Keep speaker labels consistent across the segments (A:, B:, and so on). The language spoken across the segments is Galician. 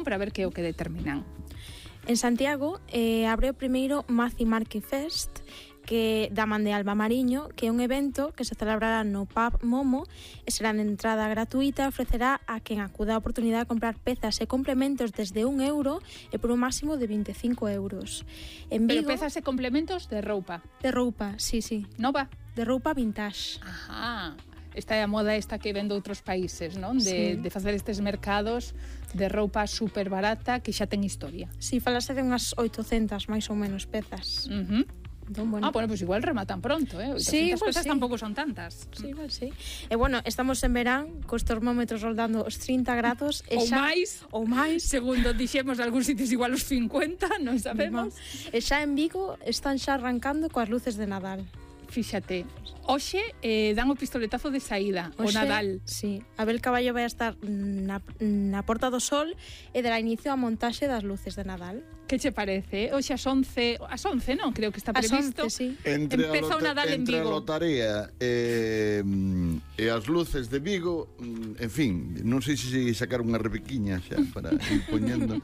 A: para ver que é o que determinan.
B: En Santiago abre o primeiro Maci Marque Fest, que da man de Alba Mariño, que é un evento que se celebrará no Pub Momo e será de entrada gratuita, ofrecerá a quen acuda a oportunidade de comprar pezas e complementos desde €1 e por un máximo de €25. En Vigo,
A: Pero pezas e complementos de roupa.
B: de roupa, sí,
A: Nova?
B: de roupa vintage.
A: Ajá. Esta é a moda esta que ven de outros países, non? De facer estes mercados de roupa super barata que xa ten historia.
B: Sí, falase de unhas 800 máis ou menos pezas. Entón, bueno.
A: Bueno, pues igual rematan pronto, 800
B: Sí, igual
A: pezas
B: sí.
A: tampouco son tantas.
B: Sí, igual sí. E bueno, estamos en verán, cos termómetros roldando os 30 grados e
A: Ou
B: xa,
A: máis.
B: ou máis.
A: Segundo dixemos de algúns sitios igual os 50, non sabemos.
B: E xa en Vigo están xa arrancando coas luces de Nadal.
A: Fíxate, hoxe dan o pistoletazo de saída, o
B: Hoxe,
A: Nadal.
B: Sí, Abel Caballo vai a estar na Porta do Sol e dará inicio á montaxe das luces de Nadal.
A: Que che parece? Hoxe ás 11, non? Creo que está
B: Ás
A: previsto.
B: 11, sí.
A: Empeza o Nadal en
C: entre a
A: Vigo.
C: lotaría e as luces de Vigo, en fin, non sei se sacar unha rebequiña xa para ir poñendo.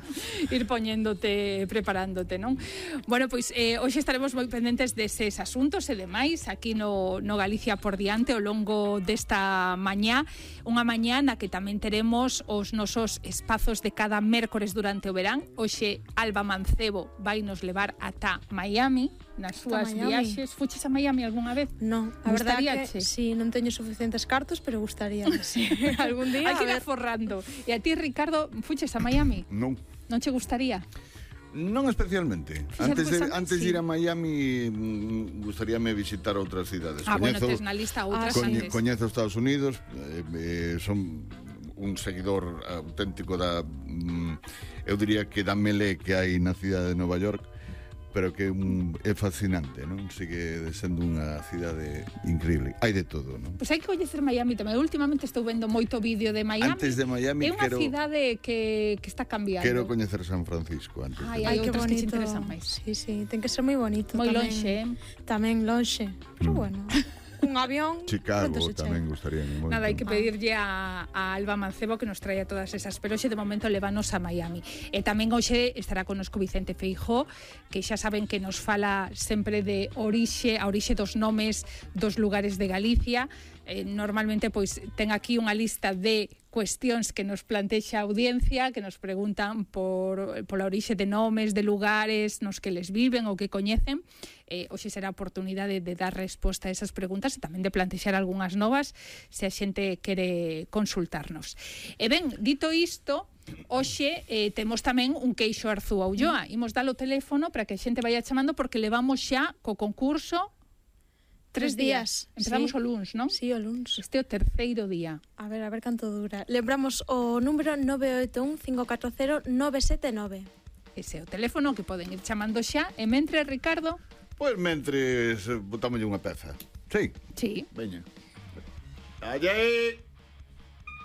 A: Ir poñéndote, preparándote, non? Bueno, pois hoxe estaremos moi pendentes deses asuntos e demais aquí no Galicia por diante ao longo desta mañá, unha mañá na que tamén teremos os nosos espazos de cada mércores durante o verán. Hoxe Alba Mancebo vai nos levar ata Miami nas súas viaxes. Fuches a Miami algunha vez?
B: Non, a verdade é
A: Gustaríache?
B: que sí, non teño suficientes cartos, pero gustaría. Sí. Algún día,
A: Hai que
B: a
A: ir
B: ver.
A: aforrando. E a ti, Ricardo, fuches a Miami?
C: Non.
A: Non che gustaría?
C: Non especialmente. Antes de ir a Miami, gustaríame visitar outras cidades.
A: Bueno, tes na lista outras antes.
C: Coñezo Estados Unidos, son un seguidor auténtico da eu diría que da melé que hai na cidade de Nova York, pero que é fascinante, non? Sigue sendo unha cidade increíble. Hai de todo, non?
A: Pois hai que coñecer Miami tamén. Últimamente estou vendo moito vídeo de Miami.
C: Antes de Miami
A: é unha cidade que está cambiando.
C: Quero coñecer San Francisco antes.
A: Hai
B: que
A: outras que te
B: bonito.
A: interesan máis.
B: Sí, sí, ten que ser moi bonito.
A: Moi
B: tamén.
A: lonxe.
B: Tamén lonxe. Pero bueno, un avión.
C: Chicago
B: pronto se
C: tamén
B: chega.
C: gustaríame moito.
A: Nada, hai que pedirlle a Alba Mancebo que nos traia todas esas, pero hoxe de momento levanos a Miami. E tamén hoxe estará connosco Vicente Feijóo, que xa saben que nos fala sempre de a orixe dos nomes dos lugares de Galicia. Normalmente pois ten aquí unha lista de cuestións que nos plantexa a audiencia, que nos preguntan pola orixe de nomes, de lugares nos que les viven ou que coñecen. Hoxe será a oportunidade de dar resposta a esas preguntas e tamén de plantexar algunhas novas se a xente quere consultarnos. E ben, dito isto, hoxe temos tamén un queixo Arzú a Ulloa. Imos dar o teléfono para que a xente vaya chamando porque levamos xa co concurso 3 días. Empezamos
B: Sí.
A: o luns, non?
B: Sí, o luns.
A: Este é o terceiro día.
B: A ver canto dura. Lembramos o número 981-540-979.
A: Ese é o teléfono que poden ir chamando xa. E mentre, Ricardo...
C: Pois mentres botamos unha peza. Sí.
A: Sí.
C: Veña. Allá.